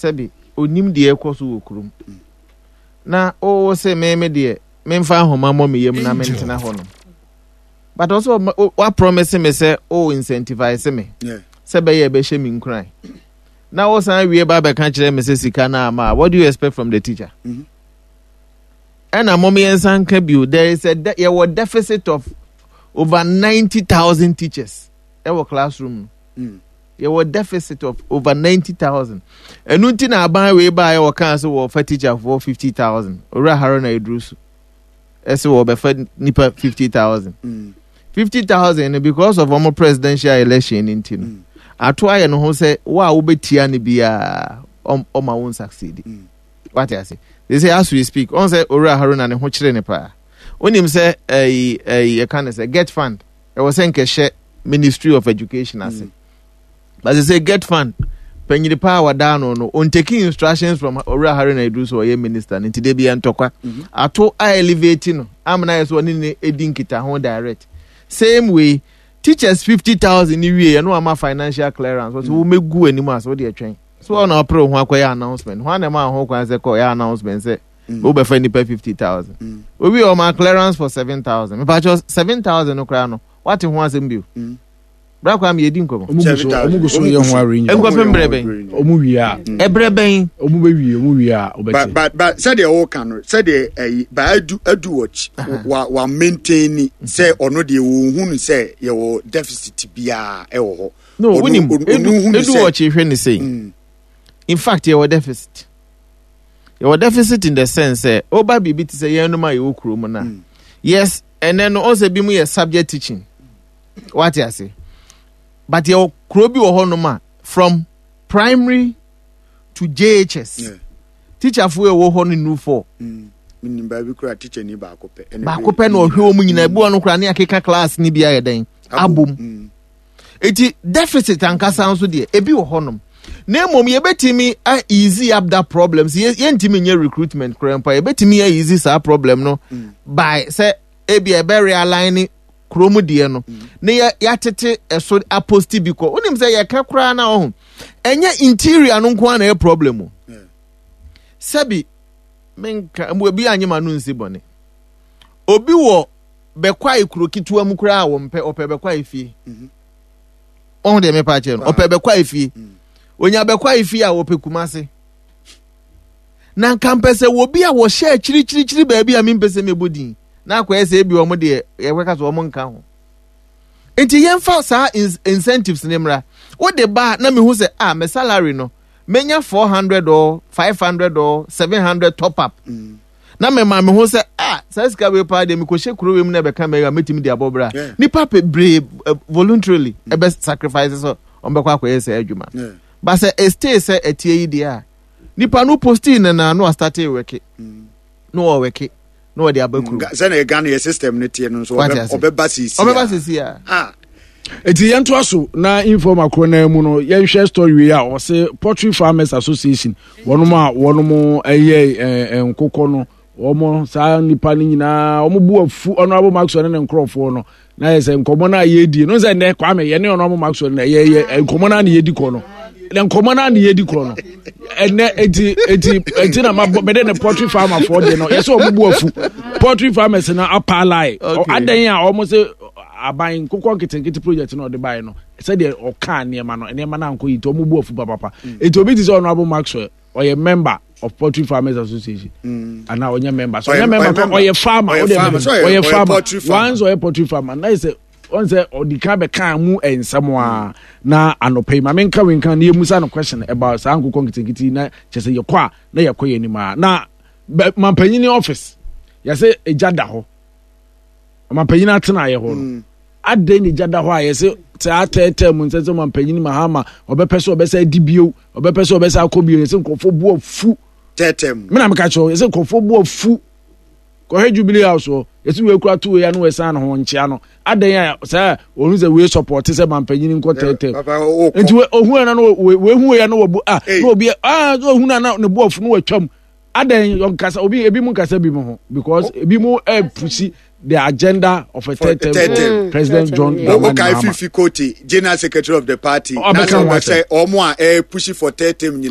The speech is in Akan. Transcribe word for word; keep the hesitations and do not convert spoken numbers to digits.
Sɛbi, onim deɛ ɛkɔ so wɔ kurom na ɔwɔ sɛ mɛmɛ deɛ memfa ahoma mmɔ me yam na mentena hɔ nom, but ɔsɛ wa promise me sɛ o incentivize me sɛ bɛyɛ ɛbɛhyɛ me nkuran na wɔsan wie ba bɛka kyerɛ me sɛ sika no ama. What do you expect from the teacher? Ɛna mom yɛnsa nka bio, there is a de yɛwɔ deficit of over ninety thousand teachers ɛwɔ classroom no mm. Yɛwɔ deficit of over ninety thousand. Ɛnu nti na aban wei baa yɛ wɔkaa sɛ wɔfa teacher for fifty thousand. Owura Haruna Iddrisu ɛsɛ wɔbɛfa nipa fifty thousand. Fifty thousand no, because of wɔn presidential election ni nti no mm. ato ayɛ no ho sɛ wo a wobɛtia no biara, ɔma wo nsucceed. mm. Wate ase? They say as we speak, ɔn sɛ Owura Haruna ne ho kyerɛ ne paa. Wonim sɛ ɛyi ɛyi yɛka ne sɛ GETFund ɛwɔ sɛ nkɛhyɛ Ministry of Education ase mm. But they say GETFund panyini paa wadaa no no on taking instructions from Owura Haruna Iddrisu, ɔyɛ minister no, nti de bi yɛ ntɔkwa mhm. ato a elevate no amena yɛ so ɔne ne edi nkita ho direct. Same way, teachers fifty thousand ni wie ɛno ama financial clearance, wɔsɛ wɔn mɛgu anim ase, wɔde ɛtwɛn so ɔna ɔpere ho akɔyɛ announcement ho anam a ho kwan sɛ kɔ yɛ announcement sɛ wobɛfa nipa fifty thousand. Owi ɔma clearance for seven thousand. Mipakyɛ, seven thousand no koraa no, wate ho asɛm bio bra kwa mi yɛdi nkɔmɔ. Ɔmo gu so, ɔmo gu so yɛ ho arrangement. Nkɔpem brɛ bɛn? Ɔmo wie a. Ɛbrɛ bɛn? Ɔmo bɛ wie, ɔmo wie a ɔbɛte. but but but sɛdeɛ ɔka no, sɛdeɛ ɛyi ba adu adu wɔ wa wa maintain sɛ ɔno deɛ wɔn hu no sɛ yɛwɔ deficit biara ɛwɔ hɔ. No, wunim edu edu wɔkye hwɛ ne sɛ in fact yɛwɔ deficit yɛwɔ deficit in the sense sɛ ɔba biribi te sɛ yɛn nom a yɛwɔ kurom na yes, ɛnɛ no ɔsɛ bi mu yɛ subject teaching, wate ase? But yɛwɔ kuro bi wɔ hɔnom a from primary to J H S yeah. Teacherfoɔ ɛwɔ hɔ no nu four. Nim baabi kura teacher ni baako pɛ. Baako pɛ na ɔhwɛ wɔn nyinaa. Ebi wɔn no kura ne akeka class ni bi ayɛ dɛn abom. Eti deficit ankasa nso deɛ, ebi wɔ hɔnom, na mmom yɛbɛtumi a easy up that problem. So yɛntumi nyɛ recruitment koraa mpo a, yɛbɛtumi a easy saa problem no by sɛ ebi ɛbɛ realign kurom deɛ no na yɛ yɛatete ɛso apost bi kɔ. Wonim sɛ yɛka koraa na ɔho ɛnyɛ interior no nko ara na ɛyɛ problem o. Sɛbi, menka ebi anye ma no nsi bɔne. Obi wɔ Bɛkwae kuro ketewa mu koraa a wɔmpɛ, ɔpɛ Bɛkwae fie. Ɔho deɛ mepa akyerɛ no, ɔpɛ Bɛkwae fie. Onya Bɛkwae fie a, wɔpɛ Kumase. Na nka mpɛ sɛ wɔbi a wɔhyɛ akyirikyirikyiri baabi a mempɛ sɛ mɛbɔ din na akɔyɛ sɛ ebi wɔn deɛ yɛbɛka sɛ wɔn nka ho. Nti yɛmfa saa incentives ne mmra. Wode ba na mehu sɛ ah, me salary no menya four hundred or five hundred or seven hundred top up mm. na mema me ho sɛ ah, saa sika wei paa deɛ, mekɔhyɛ kuro wei mu na ɛbɛka mɛ a, mɛtumi de abɔ bra. Nipa bebree uh, voluntarily ɛbɛ sacrifice sɛ ɔmbɛkɔ akɔyɛ sɛ adwuma. But sɛ ɛstay sɛ ɛtie yi deɛ a, nipa no postii ne na no astart work na ɔwork na ɔde aba kurom. Sɛnea Ghana yɛ system no teɛ no nso, ɔbɛba sisi. Ɔbɛba sisi a. Ah. Eti yɛntoa so na informa korɔ naa mu no, yɛnhwɛ story wei a ɔse Poultry Farmers Association, wɔnom a wɔnom ɛyɛ ɛɛ nkokɔ no, wɔn saa nipa no nyinaa wɔn bu afu Honourable Maxwell ne ne nkorɔfoɔ no. Na yɛ sɛ nkɔmɔ no a yɛdie no sɛ nnɛ Kwame yɛne Honourable Maxwell no yɛ yɛ nkɔmɔ no a na yɛdi kɔ no, na nkɔmɔ no a na yɛdi kɔ no ɛnɛ. eti eti eti na ma bɔ mɛde ne poultry farmer foɔ deɛ no, yɛ sɛ wɔn bu afu poultry farmers na apaalae adan a wɔn sɛ aban nkokɔ nketenkete project na ɔde baeɛ no, sɛdeɛ ɔkaa nneɛma no, nneɛma no ankɔ yi, nti wɔn bu afu papapa. Eti obi ti sɛ Honourable Maxwell ɔyɛ member of Poultry Farmers Association mm. ana ɔnyɛ member? So ɔnyɛ member, ɔyɛ farmer. Ɔyɛ farmer once, ɔyɛ poultry farmer na yɛ sɛ ɔn sɛ ɔdi kan bɛka mu nsɛm a na anɔpɛ yi maame nka wenka na yɛmusa no question about saa nkokɔ nketenkete na kyɛ sɛ yɛkɔ a na yɛkɔ yɛn anim a na mampanyini office yɛsɛ egya da hɔ, ɔmampanyin atena ayɛ hɔ no mm. Adɛn na egya da hɔ a yɛsɛ saa tɛɛtɛɛ mu nsɛ sɛ ɔmampanyin Mahama ɔbɛpɛ sɛ ɔbɛsɛ adi bio, ɔbɛpɛ sɛ ɔbɛsɛ akɔ bio? Yɛsɛ nkurɔfoɔ bu afu. Tɛɛtɛɛ mu. Mena meka kyerɛ, yɛsɛ nkurɔfoɔ bu afu. Kɔhwɛ Jubilee House hɔ, yɛsɛ wei kura to wei ano, ɛsan ne ho nkyea no. Adɛn a sɛ ohun sɛ wei support sɛ mampanyin nkɔ tɛɛtɛɛ nti ohun ɛna no wei hu wei ano wɔ bu ah na obi ah ohun na ne bu afu no watwam. Adɛn ɔnkasa? Obi ebi mu nkasa bi mu ho because ebi mu ɛpusi the agenda of a third term for President John Dramani Mahama. Fiifi Kwetey, general secretary of the party, na sɛ ɔbɛsɛ ɔmo a ɛpusi for third term nyinaa.